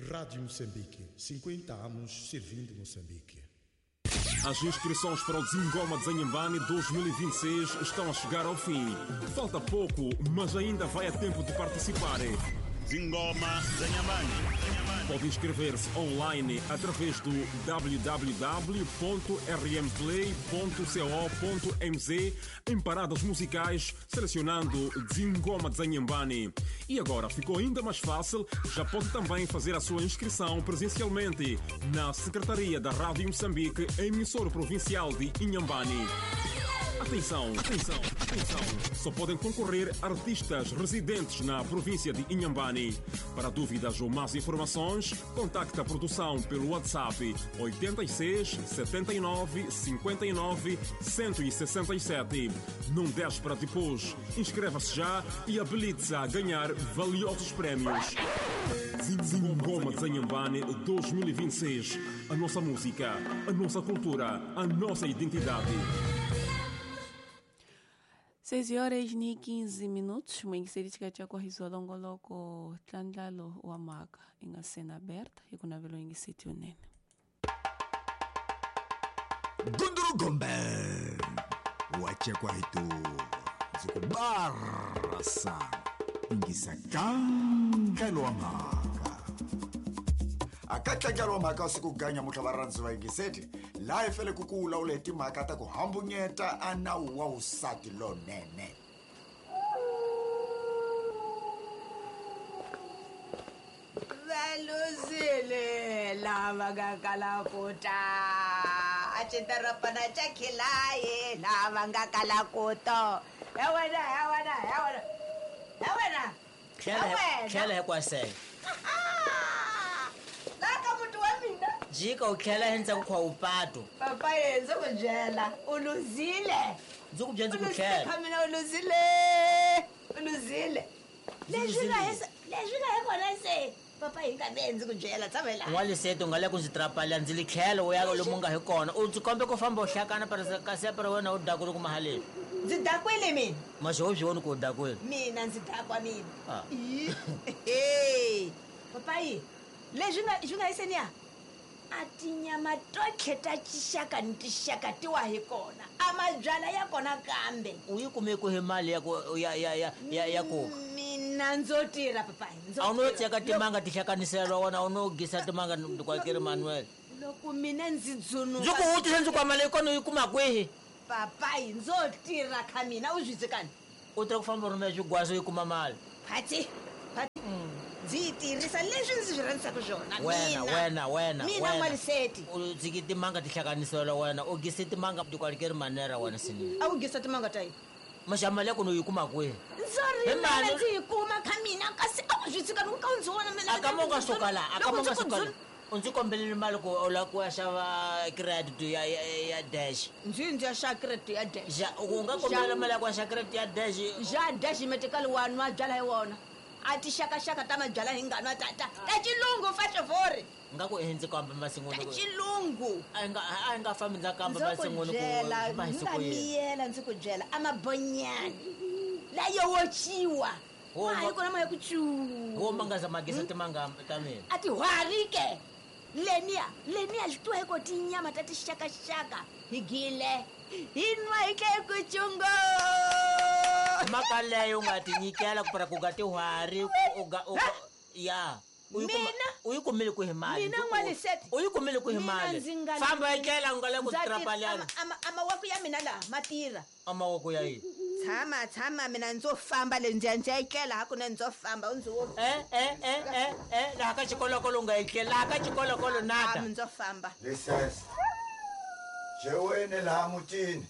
Rádio Moçambique, 50 anos servindo Moçambique. As inscrições para o Zingoma de Zanhambane 2026 estão a chegar ao fim. Falta pouco, mas ainda vai a tempo de participar. Zingoma Zanhambane. Pode inscrever-se online através do www.rmplay.co.mz em paradas musicais, selecionando Zingoma de Zanhambane. E agora ficou ainda mais fácil, já pode também fazer a sua inscrição presencialmente na Secretaria da Rádio Moçambique, emissora provincial de Inhambane. Atenção, atenção, atenção! Só podem concorrer artistas residentes na província de Inhambane. Para dúvidas ou mais informações, contacte a produção pelo WhatsApp 86 79 59 167. Não deixe para depois. Inscreva-se já e habilite-se a ganhar valiosos prémios. Zingoma de Zanhambane 2026. A nossa música, a nossa cultura, a nossa identidade. 6 horas ni 15 minutos muyingiseri tshikati ya kuahisiwa longoloko ntlandlalo wa mhaka yi nga sena aberta hi ku navela yingiseti yunene. Gundurugombe wachekwa hitu ndzi ku barasa yingisa kankelo wa mhaka akatlangelo wa mhaka wa siku ganya mutlha va rhandzi va yingiseti laha hi fele ku ku vulavula hi timhaka ta ku hambunyeta a nawu wa vusati lonene. Valuzile lava nga kala ku ta a xitorobana xa khilayi lava nga kala ku to he wena, he wena, he wena, he wena. Tlhela hi kwasele. Laha ka muti wa mina. Jika u tlhela endzhaku kwa upato. Papa ye ndzi ku byela u luzile. Ndzi ku byela ndzi ku U luzile tlhela. Kha mina u luzile, u luzile. Leswi nga hi leswi nga hi kona se papa hi nga ve ndzi ku byela tshamela. N'waliseti u nga le ku ndzi trapala ndzi li tlhela u ya lomu nga hi kona u ndzi kombe ku famba u hlakana kasi para wena u dakwile kuma haleni. Ndzi dakwile mina. Maxi wo swi voni ku u dakwile. Mina ndzi dakwa mina. Ah. Ih, papayi leswi nga swi nga hi seniya a tinyama totlhe ta tixaka ni tixaka ti wa hi kona a mabyala ya kona kambe. U yi kume ku hi mali ya ku ya ya ya ya ya ku mina ndzo tirha papayi ndzo a wu no tirha. teka timanga ti hlakaniselwa wona a wu no gisa timanga kwakeri Manuel. Loko mina ndzi dzunuka Ndzi ku vutisa ndzi kwa mali yi kona u yi kuma kwihi? Papayi ndzo tirha kha mina u swi tsekani. U tirha ku famba u rhumela swigwazo u yi kuma mali. Phatsi, phatsi. Ndzi yi tirhisa leswi ndzi swi rhandzaka swona. Wena, Mina. wena, wena, Mina wena. N'waliseti. U tshiki timanga ti hlakaniselwa wena u gise timanga tikwalikeri manera wena sinini. A wu gisa timanga ta yini? Maxa mali ya kona u yi kuma kwihi? Ndzo Hi rimela mali. ndzi yi kuma kha mina kasi a wu swi tshika ni ku ka u ndzi vona mina. A ka mo nga suka laha, a ka Loko mo ndzi nga ku suka laha. U ndzi kombelele mali ku u lava ku ya xava credit ya ya ya dash. Ndzi ndzi ya xava credit ya dash. Ja, u nga kombela mali ya ku ya xava credit ya dash. Ja dash metikali wa nwa byala hi wona. A tixakaxaka ta mabyala hi nga nwa ta ta ta xilungu fa xivori. Nga ku ndzi kamba masin'wini Ta ku xilungu. A nga a nga fambi ndza kamba Ndzo ku masin'wini ku byela, ma hi nga siku yini. miyela ndzi ku byela a mabonyani layo wociwa. Wo Ma hi kona ma ya ku cu. Wo ma nga za magisa timanga ta mina. A ti hwari ke. Leniya, leniya swi twa hi ko tinyama ta tixakaxaka hi gile. Hi nwa hi tlhe ku cungo. Mhaka leyo u nga ti nyikela ku para ku nga tihwari u ga u Ha? ya. U yi kuma Mina? u yi kumile kwihi mali? Mina N'waliseti. U yi kumile kwihi Mina mali? ndzi nga Famba yi tlela u nga le ku Ndza tirha. trapalana. A mawoko ya mina laha ma tirha. A mawoko ya yini? Tshama, tshama mina ndzo famba le ndzi ya ndzi ya etlela hakunene ndzo famba u ndzi wo. Eh, eh, eh, eh, eh, laha ka xikolokolo u nga etlela, laha ka xikolokolo nada. Ah, ndzo famba. Lisese xeweni laha mutini.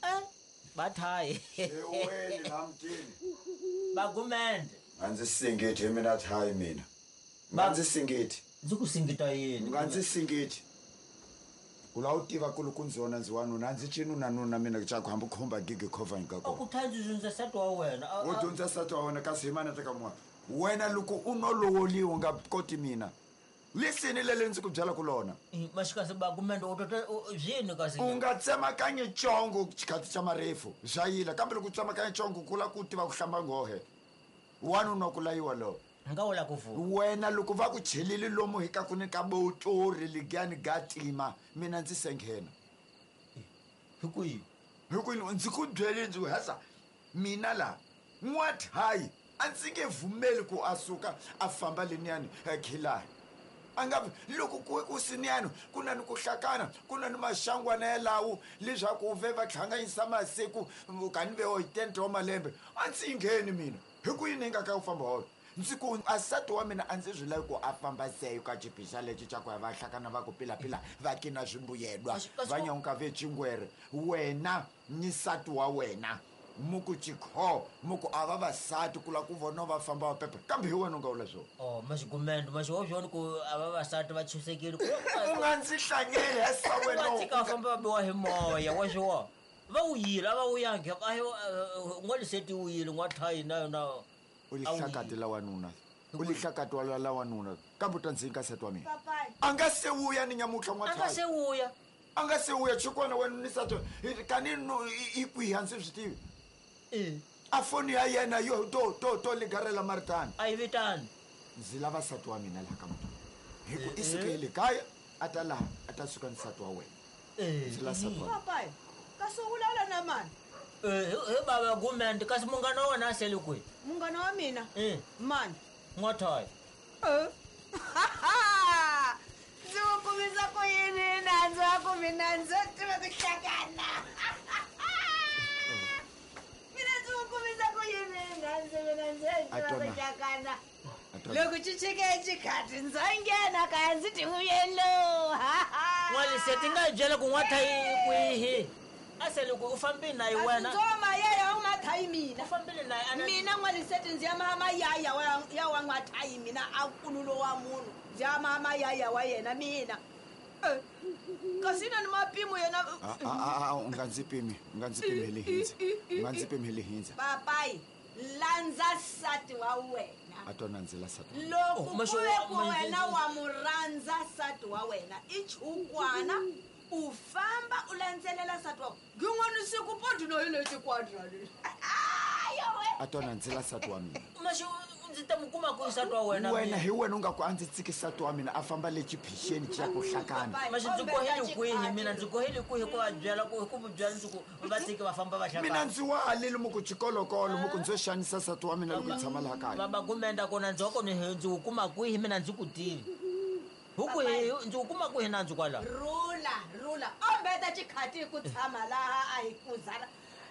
Eh, bathayi. Xeweni laha mutini. Bagumende. Nga ndzi singiti hi mina thayi mina. Nga ndzi singiti. Ndzi ku singita yini? Nga ndzi singiti. Ku lava u tiva ku loko ndzi wona ndzi wanuna a ndzi cinunanuna mina xa ku hambi khumba gigi khovha ka A kona. ku tha ndzi dyondza nsati wa wena. U dyondza nsati wa wena kasi hi mana teka mun'wana. Wena loko u no lovoliwa u nga koti mina. Lisini leli ndzi ku byelaka lona. Maxikasi bagumende u tota byini kasi? U nga tsemakanyi congo xikhathi xa marefu swa yila kambe loko u tsemakanya congo ku lava ku tiva ku hlamba nghohe. Wanuna ku layiwa lowo. Nga wula ku vu. Wena loko va ku chelile lomu hi ka ku ni ka botori ligani ga tima mina ndzi se nghena. Hi ku yini? Hi ku yini? Ndzi ku byele ndzi ku hasa mina la n'wathayi a ndzi nge vumeli ku a suka a famba leniyani khilayi. A nga loko ku siniyani ku na ni ku hlakana ku na ni maxangwana yalawo leswaku ve va hlanganyisa masiku kani ve 80 wa malembe a ndzi ngheni mina. Hi ku yini nga ka u famba wona? Ndzi ku a nsati wa mina a ndzi swi lavi ku a famba seyo ka xiphixa lexi xa ku ya va hlakana va ku pilapila va kina swimbuyelwa va nyonka ve chingwere. Wena ni nsati wa wena muku chikho muku a vavasati ku lava ku vona va famba va pepe kambe hi wena u nga vula swona. Oh maxigumendo maxi swona ku a vavasati va chusekile u nga ndzi hlangeli hesa wena u tshika va famba va biwa hi moya wa swo va wuyile a va wuyangi a n'waliseti wuyile n'wathayi na yona u lihlakati la wanuna u lihlakati wa la wanuna kambe u ta ndzi nyika nsati wa mina a nga se wuya ni nyamutlha n'wathayi a nga se wuya a nga se wuya chikwana wena ni nsati kani no i kwihi a ndzi swi tivi. A foni ya yena yo to ligarela maritani a yi vitani ndzi lava nsati wa mina laha ka muti hi ku i suke le kaya a ta laha a ta suka nsati wa wena ndzi lava nsati wa papai kasi u vulavula na mani? Hi bava gumende kasi munghana wa wena a sele kwihi? Munghana wa mina mani? N'wathayi. Ndzi wu kumisa ku yini nandzu wa ku mina ndzo tiva ku hlakana? Mina ndzi wu kumisa ku yini nandzu mina ndzo tiva ku hlakana? Loko xi chike xikhati ndzo nghena kaya ndzi ti vuyelo. N'waliseti nga byela ku n'wathayi kwihi? A sele ku u fambile na yi wena. Ndzo mayaya u mathayi mina. U fambile na yi mina n'waliseti ndzi ya mayaya ya wa n'wathayi mina a kululo wa munhu ndzi ya mayaya wa yena mina. Kasi na ni mapimo yena. U nga ndzi pimi, u nga ndzi pimeli hindza. U nga ndzi pimeli hindza. Papai, landza nsati wa wena. A tona ndzi la nsati. Loko ku ve ku wena wa mu rhandza nsati wa wena i chukwana u famba u landzelela nsati wa gin'wana siku podi no hi lexi kwadra lexi. A tona ndzi la nsati wa mina. Maxi ndzi ta mu kuma ku nsati wa wena. Wena hi wena u nga ku a ndzi tsiki nsati wa mina a famba le xiphixeni xa ku hlakana. Maxi ndzi kohele kwihi mina ndzi kohele kwihi ku va byela ku ku byela ndzi ku va tsiki va famba va hlakana. Mina ndzi wa alile muku xikolokolo muku ndzo xanisa nsati wa mina loko ndzi tshama laha kaya. Baba gumenda kona ndzi wa kona ndzi wu kuma kwihi mina ndzi ku tivi. Huku hi ndzi wu kuma kwihi nandzu kwala? Rula rula ombeta xikhati ku tshama laha a hi kuzala.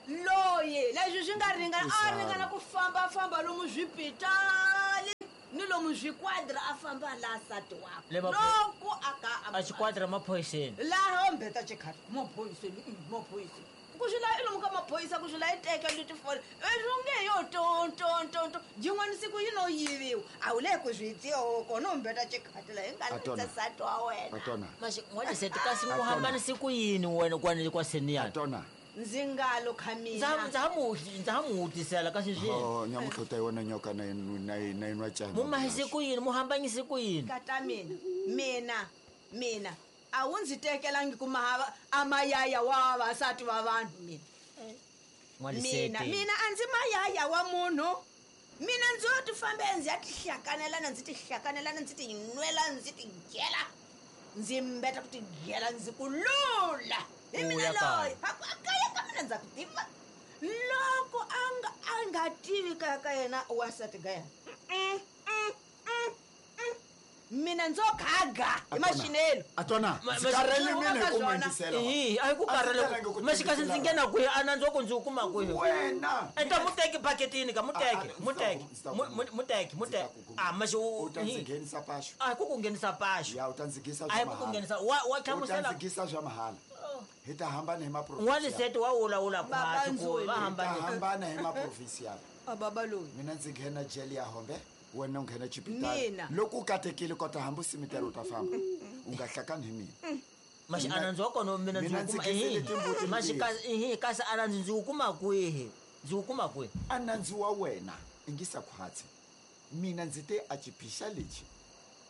Loyi leswi swi nga ringana a ringana ku fambafamba lomu swipitali ni lomu swikwadra a famba laha nsati wakwe loko a ka a xikwadra maphoyiseni laha ombeta xikhati maphoyiseni maphoyiseni ku swi laha i lomu ka maphorisa ku swi laha i teka letifoni leswi nge yo tontontonto yin'wana siku yi no yiviwa a wu le ku swi tiyo kona umbeta xikhati laha hi nga ndza nsati wa wena. Maxi n'waliseti kasi ku hambanise ku yini wena kwani kwa seniyani? Ndzi nga lo kha mina ndza ha mu wutisela kasi swi nyamutlha ta yona nyoka na na yinwa cana mu mahise ku yini mu hambanyise ku yini? Kata mina mina mina a wu ndzi tekelangi ku mahava a mayaya wa vavasati va vanhu mina. Mina mina a ndzi mayaya wa munhu. Mina ndzi yo ti fambe ndzi ya tihlakanelana ndzi tihlakanelana ndzi ti nwela ndzi ti gela ndzi mbeta ku ti gela ndzi ku lula hi mina loyi a kaya ka mina ndza ku tiva loko a nga tivi kaya ka yena wansati ka yena mina ndzo gaga hi maxinelo. A tona ndzi karhele mina hi ku n'wendisela. A hi ku karhele maxi kasi ndzi nghena kwihi a nandzu wa ku ndzi wu kuma kwihi wena? Enta muteki baketini ka muteki muteki muteki muteki a maxi u ta ndzi nghenisa paxo. A hi ku ku nghenisa paxo. Ya u ta ndzi nghenisa a hi ku ku nghenisa wa hlamusela u ta ndzi nghenisa swa mahala. Hi ta hambana hi maprovinsi. N'waliseti wa wulawula khwatsi ku va hambana. Hi ta hambana hi maprovinsi ya. A baba loyi. Mina ndzi nghena jele ya Hombe. Wena u nghena xipitali loko u katekile kota hambi u simitela u ta famba u nga hlakani hi mina. Maxi a nandzu wa kona mina ndzi wu kuma maxi kasi a nandzu ndzi wu kuma kwihi? Ndzi wu kuma kwihi? A nandzu wa wena i ngisa khwatsi mina ndzi te a xiphixa lexi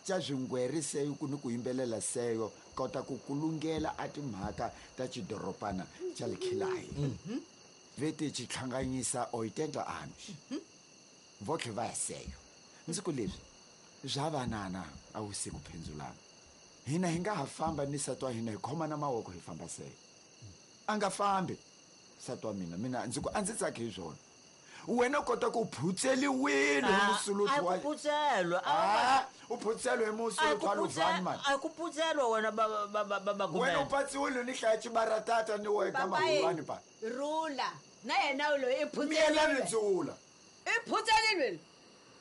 xa swingwere seyo ku ni ku yimbelela seyo kota ku kulungela a timhaka ta xidoropana xa Likhilayi vete xi hlanganyisa 80 anos votlhe va ya seyo. Ndzi ku leswi bya vanana a wu si ku phendzulana. Hina hi nga ha famba ni nsati wa hina hi khomana mavoko hi famba sele. A nga fambi nsati wa mina, mina ndzi ku a ndzi tsaki hi swona. Wena u kota ku phutseliwile hi musuluti wa ku putselwa. U phutseliwe hi musuluti wa Luvani mani. A ku putselwa wena baba Gumede. Wena u patsiwile ni hlaya xibaratata ni wena ka Mahulwani pa. Rula na yena loyi i phutseliwile. Miyelani ndzula. I phutseliwile.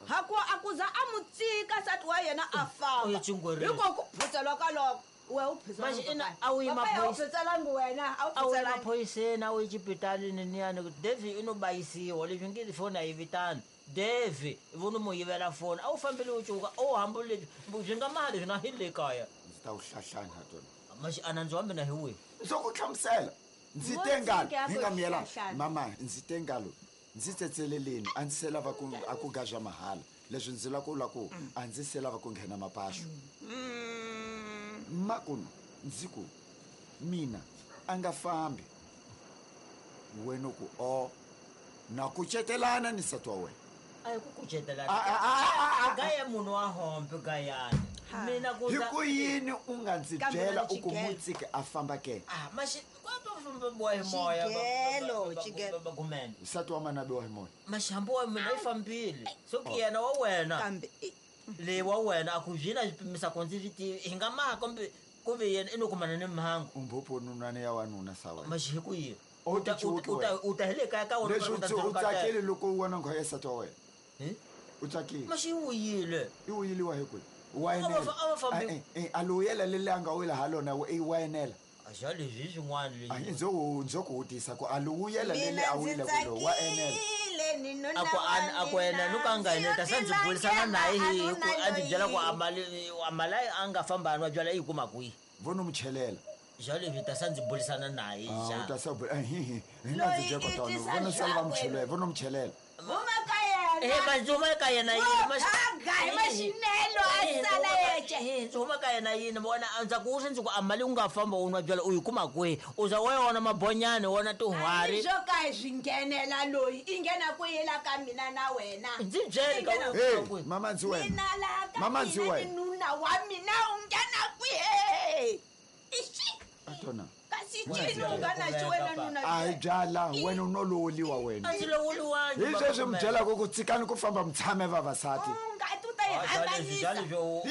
Haku a ku za a mu tsika nsati wa yena a famba. Hiko ku phutselwa ka loko. We u phutselwa. A wu yi maphoyiselangi wena, a wu phutselangi. Maphoyiseni, a wu yi xipitalini niyani. Devi i no bayisiwa leswi nge foni a yi vitani. Devi vo no mu yivela foni. A wu fambile u cuka, a wu hambule swi nga mali swi na hi le kaya. Ndzi ta wu hlahlana ha tona. Maxi a nandzu wa mina hi wihi? Ndzo ku hlamusela. Ndzi te ngalo, hi nga miyelana. Mama, ndzi te ngalo. Ndzi tsetseleleni, a ndzi se lava ku a ku gaza mahala. Leswi ndzi lava ku vula ku a ndzi se lava ku nghena mapaxo. Makuno ndzi ku mina a nga fambi. Wena ku o na kucetelana ni nsati wa wena. A hi ku kucetelana. Gaya munhu wa hombe gayani. Mina ku hi ku yini u nga ndzi byela u ku mutsiki a famba ke? Maxi hi moya Gumede. Nsati wa mana biwa hi moya. Maxi hambi wa mina yi fambile. So ki yena wa wena. Kambe le wa wena a ku byi na swipimisa ku ndzi swi tivi. Hi nga maha kumbe ku ve yena i no kumana ni mhangu. Umbhopho nunwana ya wanuna sa wena. Maxi hi ku yini? U U ta hi le kaya ka wena. Leswi u tsakile loko u vona nghwa ya nsati wa wena. U tsakile. Maxi yi wuyile. I wuyiliwa hi kwihi? Wa enela. A lo yela leli a nga wila ha lona i wa enela. Xa leswi swin'wana leswi. Ndzo ku vutisa ku a lo wuyela leli a wile ku lo wa enela. A ku ena no ka nga enela ta ndzi burisana naye hi ku a ndzi byela ku a mali a nga famba a nwa byala yi kuma kwihi. Vo no mu chelela. Xa leswi ta ndzi burisana naye xa. U ta sa hi hi nga ndzi byela ku tano vo no sala va mu chelela, vo no mu chelela. Huma ka yena. Manzi huma ka yena yini? Ga hi maxinelo a sala yexe. Ndzi huma ka yena yini? Vona ndza ku ndzi ku a mali u nga famba u nwa byala u yi kuma kwihi? U za wa yona mabonyani wona tihwari. Swo ka hi swi nghenela loyi i nghena ku yela ka mina na wena. Ndzi byele ka u. Mama ndzi wena. Mina la ka mama ndzi wena. Nuna wa mina u nghena kwihi? Ixi. Atona. Kasi cini u nga na xi wena nuna. A hi byala wena u no lowoliwa wena. A ndzi lowoliwangi. Hi sweswi mi byelaka ku tshikani ku famba mi tshame vavasati. Nga tu ta yi hambanisa.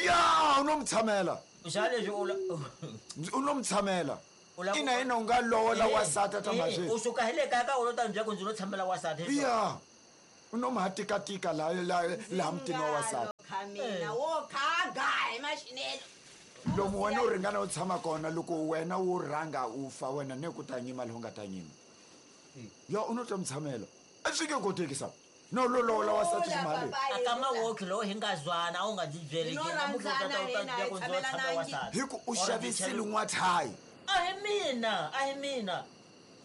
Ya u no mi tshamela. Xa leswi u no mi tshamela. Ina ina u nga lowola wasati ta mazwi. U suka hi le kaya ka wena u ta ndzi byela ku ndzi no tshamela wasati. Ya. U no ma tikatika la la mutini wa wasati. Mina wo khaga hi maxinelo. Lomu wena u ringana u tshama kona loko wena wu rhanga u fa wena ne ku ta nyima lowu nga ta nyima. Ya u no ta mi tshamela. A swi nge koteki sa. No lo lowola wasati ximali. A ka mawoki lowu hi nga zwana a wu nga ndzi byeli ke namuntlha u ta ta ku ndzi tshama wasati. Hi ku u xavisile n'wathayi. A hi mina, a hi mina.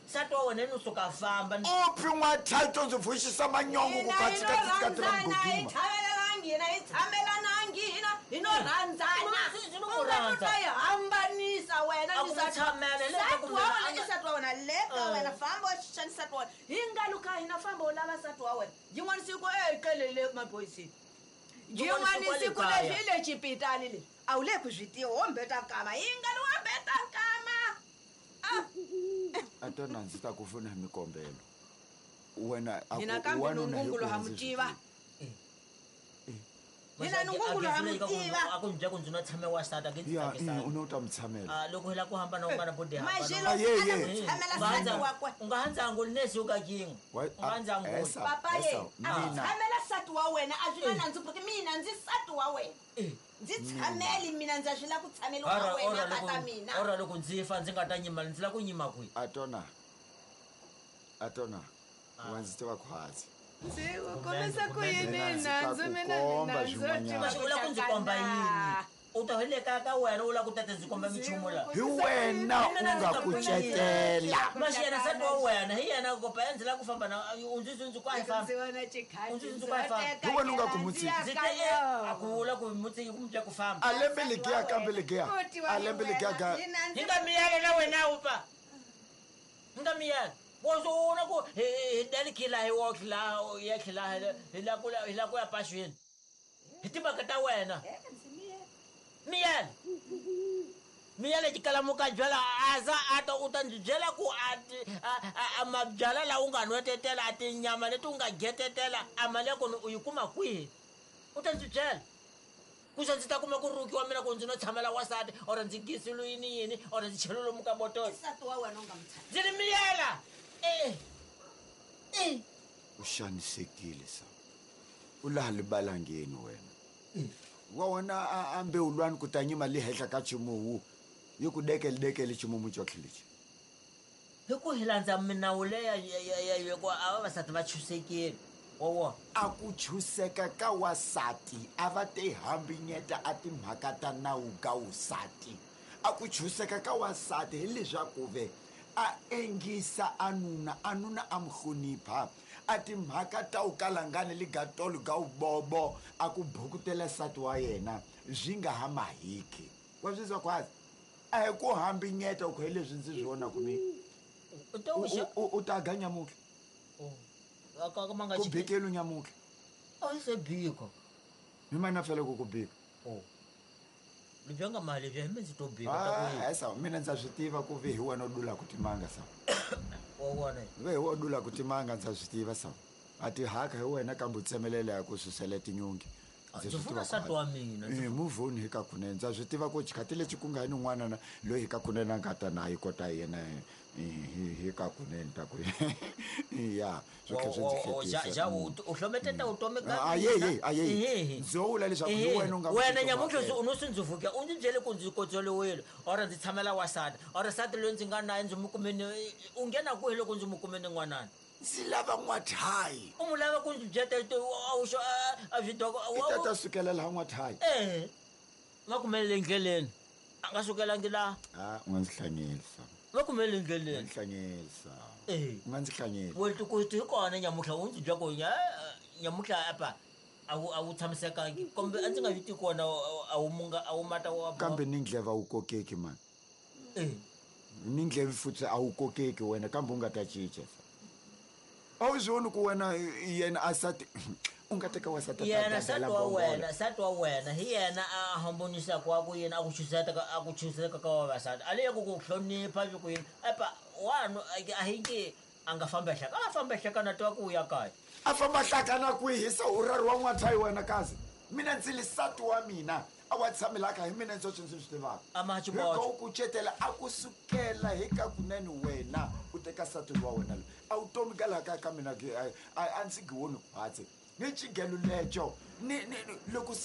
Nsati wa wena no suka famba. U pfi n'wathayi to ndzi vuxisa manyongo ku katsikatsi ra mgodima. Hi tshamelanangi hina hi no rhandzana. U nga ta yi hambanisa wena ni nsati wa wena ni nsati wa wena le ka wena famba u xixa ni nsati wa wena. Hi nga luka hina famba u lava nsati wa wena. Yin'wana siku ekelele maphoyiseni. Yin'wana siku leswi hi le xipitali leswi. A wu le ku swi tiva wo mbeta nkama. Hi nga li wo mbeta nkama. A tona ndzi ta ku pfuna hi mikombelo. Wena a Hina ku kambe wanuna hi nungungulo ku ha mu ndzi swi tiva. Hina nungungulo ha mu tiva. A ku ndzi ku ndzi no tshame wasati a ke ndzi Ya, tsakisana. u no ta mi tshamela. Loko hi la ku hambana u nga na bodi hambana. Maxelo a la ku tshamela nsati wakwe. U nga handza ngoli nesi u ka kin'we. U nga handza ngoli. Papa ye, a ku tshamela nsati wa wena a swi na nandzu porque mina ndzi nsati wa wena. Ndzi tshameli mina ndza swi la ku tshameliwa na wena tata mina. Ora loko ndzi fa ndzi nga ta nyima ndzi la ku nyima kwihi? Atona. Atona. Wa ndzi tiva khwatsi. Ndzi ku kombisa ku yini nandzu mina komba ni nandzu swin'wanyana. Maxi u la ku ndzi komba yini? U ta hi le kaya ka wena u la ku tata ndzi komba minchumu la. Hi wena u nga kucetela. Maxi yena nsati wa wena hi yena kopa ya ndzi la ku famba na u ndzi ndzi ku a hi famba. Ndzi vona xikhati U ndzi ndzi ku a hi famba. Hi wena u nga ku mutsiki. Ndzi te a ku vula ku mutsiki ku mutya ku famba. A lembe legiya kambe legiya. A lembe legiya ga. Hi nga miyela na wena u pa. Hi nga miyela. Wo na ku hi dali khila hi wo khila ya khila hi la ku hi la ku ya paxweni. Hi timhaka ta wena. Miyela. Miyela xikalamuka byala aza a ta u ta ndzi byela ku a mabyala lawa u nga nwetetela a tinyama leti u nga getetela a mali ya kona u yi kuma kwihi? U ta ndzi byela. Kuxa ndzi ta kuma ku rukiwa mina ku ndzi no tshamela wasati or ndzi gisulu yini yini or ndzi chelo lomu ka botolo. Nsati wa wena u nga n'wi Ndzi ri miyela. Eh. Eh. U xanisekile sa. U laha libalangeni wena. Wa wona a mbewulwani ku ta nyima le henhla ka ximuwu yi ku dekele dekele ximumu cotlhe lexi. Hi ku hi landza minawu leya ya ku a vavasati va chusekile wa wona. A ku chuseka ka wasati a va te hambinyeta a timhaka ta nawu ka wusati. A ku chuseka ka wasati hi leswaku ve a engisa a nuna, a nuna a mu hlonipha. A timhaka ta wu kalangani ligatolo ga wubobo a ku bukutela nsati wa yena swi nga ha mahiki. Wa swi twa khwazi? A hi ku hambinyeta ku hi leswi ndzi swi vonaku mi. U ta wu xa- U ta ga nyamutlha. Oh. Ka ma nga Ku xi- bikelu nyamutlha. A yi se bika. Mi mana fele ku ku bika. Oh. Lebyi nga mali lebyi hi mi ndzi to bika ta ku yini? Ah, sa mina ndza swi tiva ku ve hi wena u dula ku timanga sa. Wa wona. Ve hi wena u dula ku timanga ndza swi tiva sa. A ti haka hi wena kambe u tsemelela ya ku susela tinyungi. Ndzi funa nsati wa mina. Move on hi ka kunene. Ndza swi tiva ku xikhathi lexi ku nga ni n'wana na loyi hi ka kunene a nga ta na yi kota yena hi ka kunene ta ku ya swi tlhe swi ndzi hlekisa. Ja u hlometeta vutomi ka Ayeyi ayeyi. Ndzo vula leswaku hi wena u nga wena nyamutlha u no swi ndzi vuka u ndzi byele ku ndzi kotsoliwile or ndzi tshamela wasati or sati loyi ndzi nga naye ndzi mu kumeni u nghena kwihi loko ndzi mu kumeni n'wanani? Ndzi lava n'wathayi. U mu lava ku ndzi byeta a swi doko I ta ta sukela laha n'wathayi. Eh. Va kumelele endleleni. A nga sukelangi laha. Ah, u nga ndzi hlanyelisa. Va kumelele endleleni. U nga ndzi hlanyelisa. Eh. U nga ndzi hlanyelisa. Wena ku hi kona nyamutlha u ndzi bya ku nyamutlha apa a wu tshamisekangi kambe a ndzi nga viti kona a wu munga a wu mata wa kambe ni ndleva wu kokeki mani. Eh. Ni ndleve futhi a wu kokeki wena kambe u nga ta cinca. A wu swi voni ku wena yena a sati u nga teka wasati yena sati wa wena sati wa wena hi yena a hambonisaka wa ku yini a ku chuseta a ku chuseka ka vavasati a leyi ku ku hlonipha swi ku yini epa wanu a hi nge a nga famba hlaka a famba hlaka na twa ku ya kaya a famba hlaka na kwihi se u rari wa n'wathayi wena kazi mina ndzi li sati wa mina a wa tshamelaka hi mina ndzi swi swi tivaka a ma xiboxo hi ku kucetela a ku sukela hi ka kunene wena u teka sati wa wena loyi a wu tomi ka laha ka ka mina a ndzi gi woni khwatsi ni xigelo leco ni loko